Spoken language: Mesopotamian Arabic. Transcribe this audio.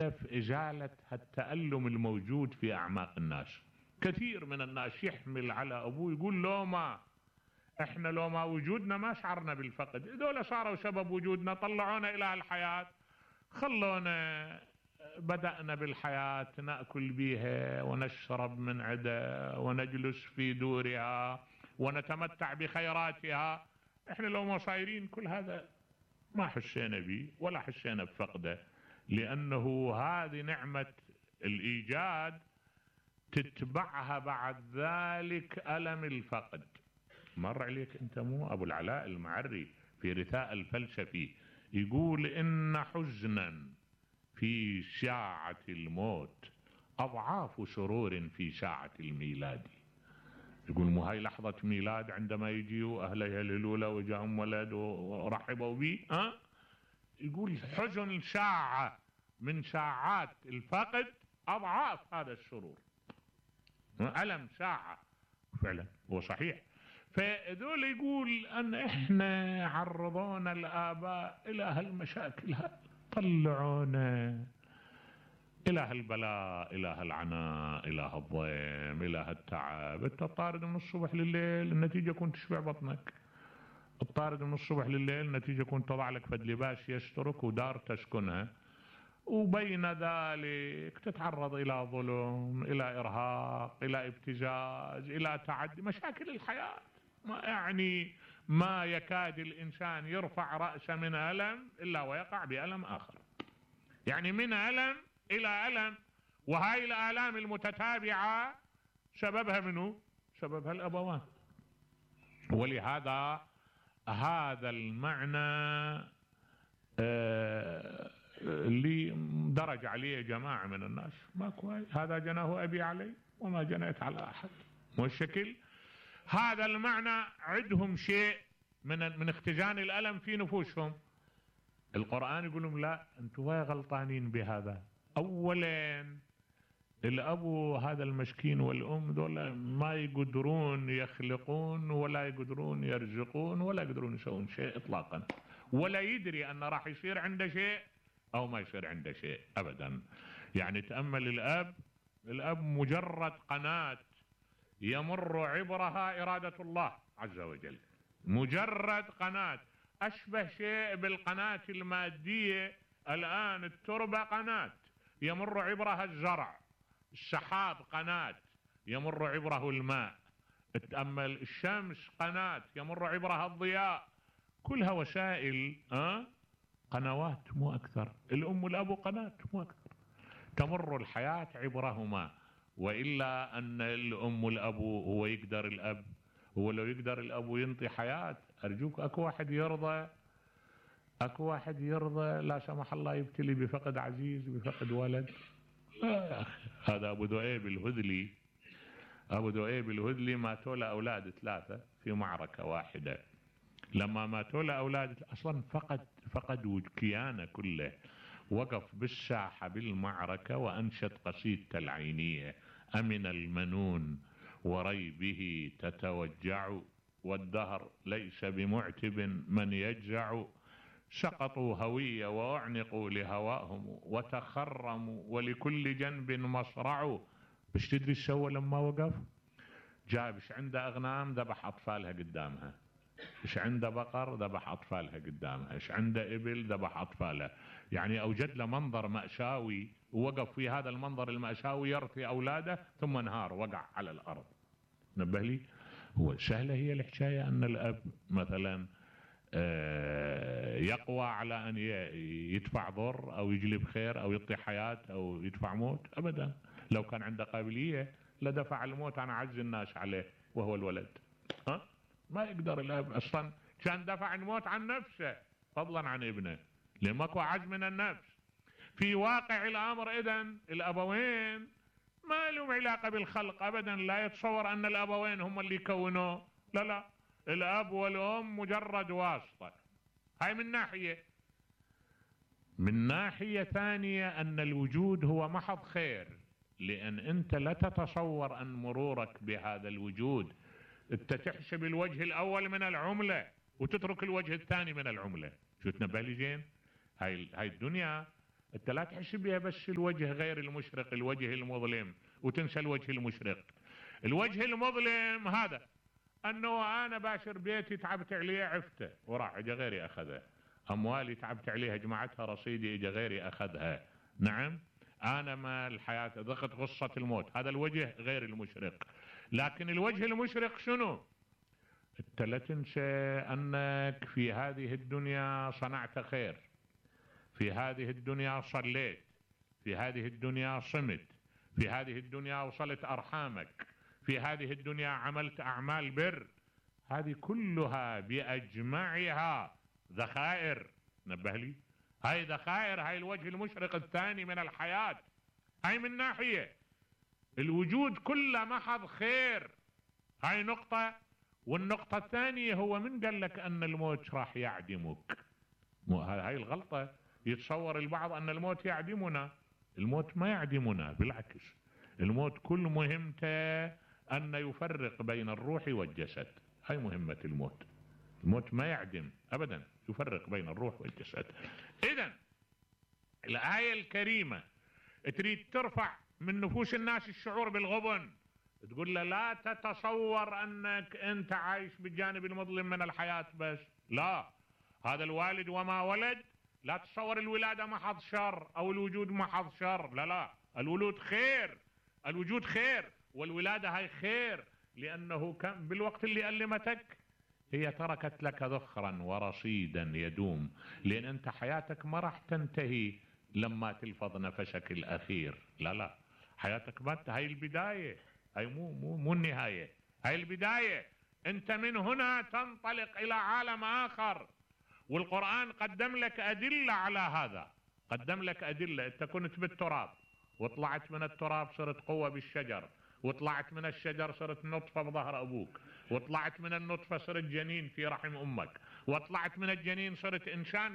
إزالة التألم الموجود في أعماق الناس. كثير من الناس يحمل على أبوه يقول لو ما احنا لو ما وجودنا ما شعرنا بالفقد، هذول صاروا سبب وجودنا، طلعونا إلى الحياة، خلونا بدأنا بالحياة نأكل بها ونشرب من عدها ونجلس في دورها ونتمتع بخيراتها. احنا لو ما صايرين كل هذا ما حسينا به ولا حسينا بفقده، لأنه هذه نعمة الإيجاد تتبعها بعد ذلك ألم الفقد. مر عليك أنت مو أبو العلاء المعري في رثاء الفلسفي يقول إن حزنا في ساعة الموت أضعاف سرور في ساعة الميلاد. يقول مو هاي لحظة ميلاد عندما يجيوا أهله يهللوا له وجاهم ولد ورحبوا به، يقول حزن ساعة من ساعات الفقد أضعاف هذا السرور. ألم ساعة فعلا هو صحيح. فذول يقول أن إحنا عرضونا الآباء إلى هالمشاكل، طلعونا إلى هالبلاء، إلى هالعناء، إلى هالضيم، إلى هالتعب. أنت طارد من الصبح لليل النتيجة كنت تشبع بطنك، الطارد من الصبح لليل النتيجة كنت تضع لك فد لباس يسترك ودار تسكنها، وبين ذلك تتعرض إلى ظلم، إلى إرهاق، إلى ابتزاز، إلى تعدي، مشاكل الحياة. ما يكاد الإنسان يرفع رأسه من ألم إلا ويقع بألم آخر، يعني من ألم إلى ألم. وهاي الآلام المتتابعة سببها منه؟ سببها الأبوان. ولهذا هذا المعنى اللي درج عليه جماعة من الناس ما كويس، هذا جناه أبي علي وما جنيت على أحد، والشكل هذا المعنى عندهم شيء من اختزان الألم في نفوسهم. القرآن يقول لهم لا، أنتوا غلطانين بهذا. أولا الأبو هذا المسكين والأم دول ما يقدرون يخلقون ولا يقدرون يرزقون ولا يقدرون يسوون شيء إطلاقا، ولا يدري أن راح يصير عنده شيء أو ما يصير عنده شيء أبدا. يعني تأمل الأب مجرد قناة يمر عبرها إرادة الله عز وجل، مجرد قناة، أشبه شيء بالقناة المادية. الآن التربة قناة يمر عبرها الزرع، السحاب قناة يمر عبره الماء، تأمل الشمس قناة يمر عبرها الضياء، كلها وسائل قنوات مو أكثر. الأم والأب قناة مو أكثر، تمر الحياة عبرهما. وإلا أن الأم والأب هو يقدر الأب، هو لو يقدر الأب ينطي حياة، أرجوك أكو واحد يرضى لا سمح الله يبتلي بفقد عزيز، بفقد ولد؟ لا يا أخي. هذا أبو ذؤيب الهذلي ماتوا له أولاد 3 في معركة واحدة. لما ماتوا له أولاد أصلا فقد كيانه كله، وقف بالساحة بالمعركة وأنشد قصيدة العينية: أمن المنون وريبه تتوجع، والدهر ليس بمعتب من يجزع، سقطوا هوية وأعنقوا لهواهم وتخرموا ولكل جنب مصرع. بش تدري ايش سوى لما وقف؟ جابش عنده أغنام ذبح أطفالها قدامها، ايش عنده بقر ذبح أطفالها قدامها، ايش عنده إبل ذبح أطفالها. يعني أوجد له منظر مأساوي، ووقف في هذا المنظر المأساوي يرثي أولاده، ثم انهار وقع على الأرض. نبه لي، هو سهلة هي الحكاية أن الأب مثلا يقوى على أن يدفع ضر أو يجلب خير أو يعطي حياة أو يدفع موت؟ أبدا. لو كان عنده قابلية لدفع الموت عن أعز الناس عليه وهو الولد. ما يقدر الأب أصلا، كان دفع الموت عن نفسه فضلا عن ابنه، لأن ماكو أعز من النفس. في واقع الأمر إذن الأبوين ما لهم علاقة بالخلق أبدا، لا يتصور أن الأبوين هم اللي يكونوه، لا، الأب والأم مجرد واسطة. هاي من ناحية. من ناحية ثانية أن الوجود هو محض خير، لأن أنت لا تتصور أن مرورك بهذا الوجود أنت تحسب الوجه الأول من العملة وتترك الوجه الثاني من العملة. شو تنبه لي زين؟ هاي الدنيا انت لا تحس بها بس الوجه غير المشرق، الوجه المظلم، وتنسى الوجه المشرق. الوجه المظلم هذا انه انا باشر بيتي تعبت عليه عفته وراح اجى غيري اخذها، اموالي تعبت عليها جمعتها رصيدي اجى غيري اخذها، نعم، انا ما الحياة ضغط غصة الموت، هذا الوجه غير المشرق. لكن الوجه المشرق شنو؟ انت لا تنسى انك في هذه الدنيا صنعت خير، في هذه الدنيا صليت، في هذه الدنيا صمت، في هذه الدنيا وصلت ارحامك، في هذه الدنيا عملت اعمال بر، هذه كلها باجمعها ذخائر. نبه لي، هاي ذخائر، هاي الوجه المشرق الثاني من الحياة. هاي من ناحية الوجود كله محض خير، هاي نقطة. والنقطة الثانية هو من قال لك ان الموت راح يعدمك؟ هاي الغلطة، يتصور البعض ان الموت يعدمنا. الموت ما يعدمنا، بالعكس، الموت كل مهمته ان يفرق بين الروح والجسد، هاي مهمة الموت. الموت ما يعدم ابدا، يفرق بين الروح والجسد. اذا الآية الكريمة تريد ترفع من نفوس الناس الشعور بالغبن، تقول له لا تتصور انك انت عايش بالجانب المظلم من الحياة بس، لا، هذا الوالد وما ولد، لا تصور الولادة محض شر او الوجود محض شر، لا لا، الولود خير، الوجود خير، والولادة هاي خير، لانه كان بالوقت اللي ألمتك هي تركت لك ذخرا ورصيدا يدوم، لان انت حياتك ما راح تنتهي لما تلفظ نفسك الاخير، لا لا، حياتك ما هاي البداية، هاي مو النهاية، هاي البداية. انت من هنا تنطلق الى عالم اخر، والقرآن قدم لك ادلة على هذا، قدم لك ادلة. انت كنت بالتراب وطلعت من التراب صرت قوة بالشجر، وطلعت من الشجر صرت نطفة بظهر ابوك، وطلعت من النطفة صرت جنين في رحم امك، وطلعت من الجنين صرت انسان